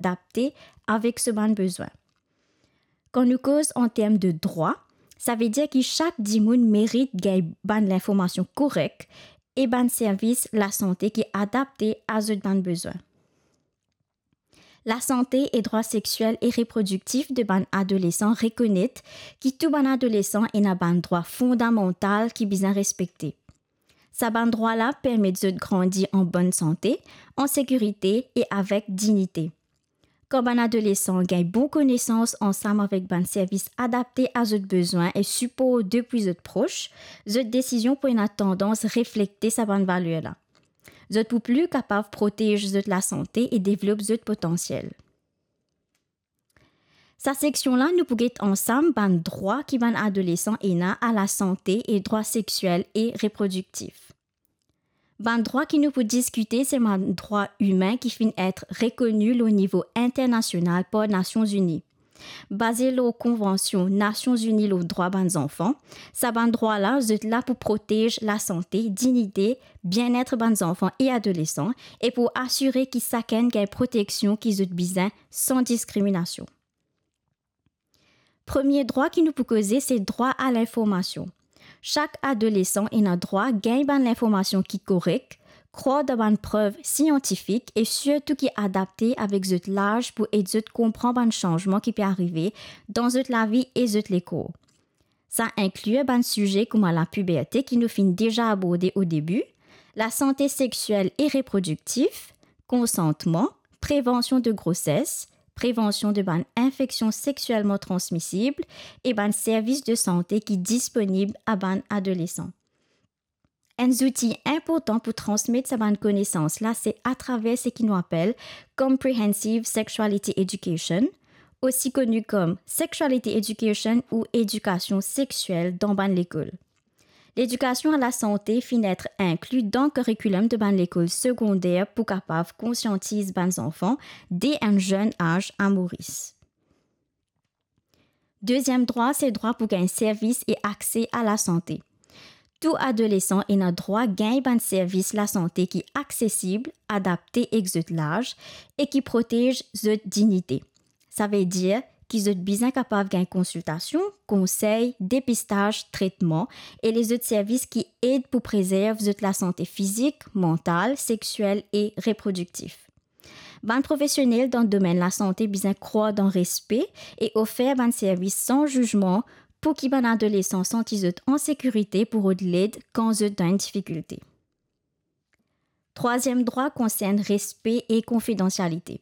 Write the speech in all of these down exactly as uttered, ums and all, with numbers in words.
adapte avek so bann bezwin. Kan nou koz an term de drwa, savedir ki sak dimoun merit gagn bann linformasion korek e bann servis lasante ki adapte a zot bann bezwin. Lasante e drwa sexiel e reprodiktif de bann adolesan rekonet ki tou bann adolesan ena bann drwa fondamantal ki bizin respekte. Sa bann drwa la permet zot grandi an bonn sante, an sekirite e avek dignite. Kan bann adolesan gagn bon konesans ansam avek bann servis adapte a zot bezwin e sipor depi zot pros, zot desizion pou ena tandans reflekte sa bann valer la. Zot pou pli kapav protez zot lasante e devlop zot potansiel. Sa seksion la, nou pou get ansam bann drwa ki bann adolesan ena a lasante e drwa sexiel e reprodiktif. Bann drwa ki nou pou diskite, se bann drwa imin ki finn et rekoni lor nivo internasional par Nasion Zini. Baze lor Konvansion Nasion Zini lor drwa bann zanfan, sa bann drwa la, zot la pou protez lasante, dignite, bienet bann zanfan e adolesan, e pou asire ki sakenn gagn proteksion ki zot bizin san diskriminasion. Premie drwa ki nou pou koze, se drwa a linformasion. Sak adolesan ena drwa gagn bann linformasion ki korek, krwar dan bann prev siantifik e sirtou ki adapte avek zot laz pou ed zot konpran bann sanzman ki pe arive dan zot lavi e zot lekor. Sa inkli bann size kouma lapiberte ki nou finn deza aborde o debi, lasante sexiel e reprodiktif, konsantman, prevansion de groses, prevansion de bann infeksion sexielman transmisib e bann servis de sante ki disponib a bann adolesan. Enn zouti inportan pou transmet sa bann konesans la, se atraver seki nou apel Comprehensive Sexuality Education, osi koni kom Sexuality Education ou Edikasion Sexiel dan bann lekol. Ledikasion a lasante finn et inkli dan karikilim de bann lekol segonder pou kapav konsiantiz bann zanfan de enn zenn az a Moris. Deziem drwa, se drwa pou gagn servis e akse a lasante. Tou adolesan ena drwa gagn bann servis lasante ki aksesib, adapte ek zot laz e ki protez zot dignite. Savedir ki zot bizin kapav gagn konsiltasion, konsey, depistaz, tretman e lezot servis ki ed pou prezerv zot lasante fizik, mantal, sexiel e reprodiktif. Bann profesionel dan domenn lasante bizin krwar dan respe e ofer bann servis san zizman pou ki bann adolesan santi zot an sekirite pou rod led kan zot dan enn difikilte. Trwaziem drwa konsern respe e konfidansialite.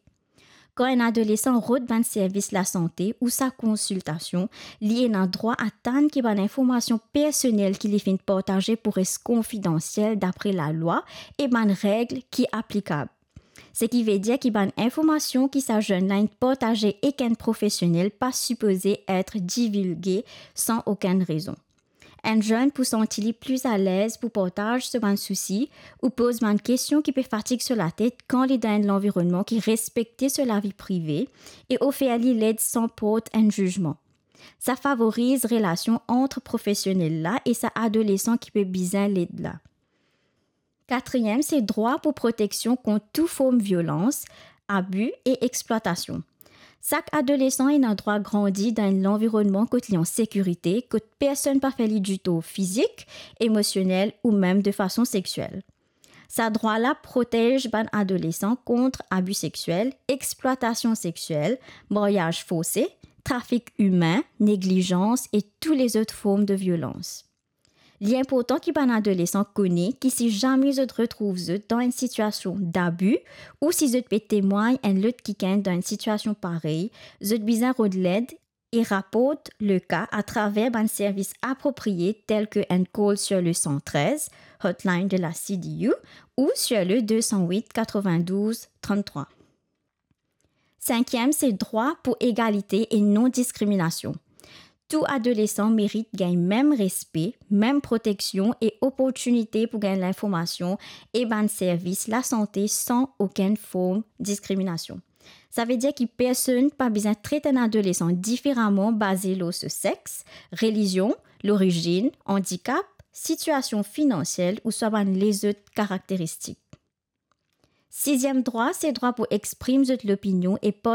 Kan enn adolesan rod bann servis lasante ou sa konsiltasion, li ena drwa atann ki bann informasion personel ki li finn partaze pou res konfidansiel dapre lalwa e bann reg ki aplikab. Seki vedir ki bann informasion ki sa zenn la inn partaze ek enn profesionel pa sipoze et divilge san okenn rezon. Enn zenn pou santi li pli alez pou partaz so bann sousi ou poz bann kestion ki pe fatig so latet kan li dan enn lanvironnman ki respekte so lavi prive e ofer li led san port enn zizman. Sa favoriz relasion ant profesionel la e sa adolesan ki pe bizin led la. Katriem, se drwa pou proteksion kont tou form violans, abi e explwatasion. Sak adolesan ena drwa grandi dan enn lanvironnman kot li an sekirite, kot personn pa fer li ditor fizik, emosionel ou mem de fason sexiel. Sa drwa la protez bann adolesan kont abi sexiel, explwatasion sexiel, maryaz forse, trafik imin, neglizans e tou lezot form de violans. Li inportan ki bann adolesan kone ki si zame zot retrouv zot dan enn sitiasion dabi ou si zot pe temwagn enn lot kikenn dan enn sitiasion parey, zot bizin rod led e raport le ka atraver bann servis apropriye tel ke enn call sur le cent treize, hotline de la C D U, ou sur le deux cent huit quatre-vingt-douze trente-trois. Sinkiem, se drwa pou egalite e non-diskriminasion. Tou adolesan merit gagn mem respe, mem proteksion e oportinite pou gagn linformasion e bann servis lasante san okenn form diskriminasion. Savedir ki personn pa bizin tret enn adolesan diferaman baze lor so sex, relizion, lorizinn, andikap, sitiasion finansiel ouswa bann lezot karakteristik. Siziem drwa, se drwa pou exprim zot lopinion e